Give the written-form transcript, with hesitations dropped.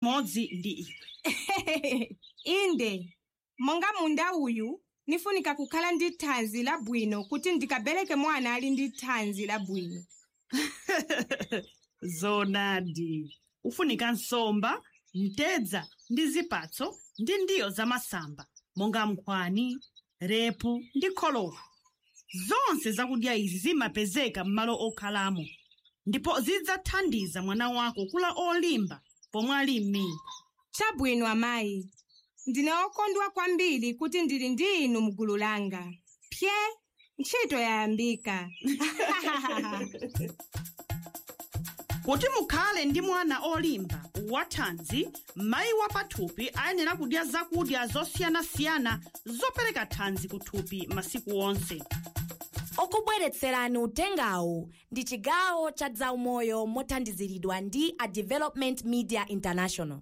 Modzi ndi iwe. Inde, monga munda uyu nifunika kukhala ndi thanzi labwino kuti ndikabereke mwana ali ndi thanzi labwino. Zonadi, ufunika nsomba, mtedza ndi zipatso ndi ndiyo za masamba monga nkhwani, repu ndi kholowa. Zonse zakudya izi zimapezeka m'malo okhalamo ndipo zidzathandiza mwana wako kula olimba pomwe ali m'mimba. Chabwino amayi, ndine okondwa kwambiri kuti ndili ndi inu mgulu langa. Pye, ntchito yayambika. Kuti mukhale ndi mwana olimba wathanzi, mayi wa pathupi ayenera kudya zakudya zosiyanasiyana zopereka thanzi kuthupi masiku onse. Okubweretserani utengawu ndi chigawo cha zaumoyo mothandiziridwa ndi a Development Media International.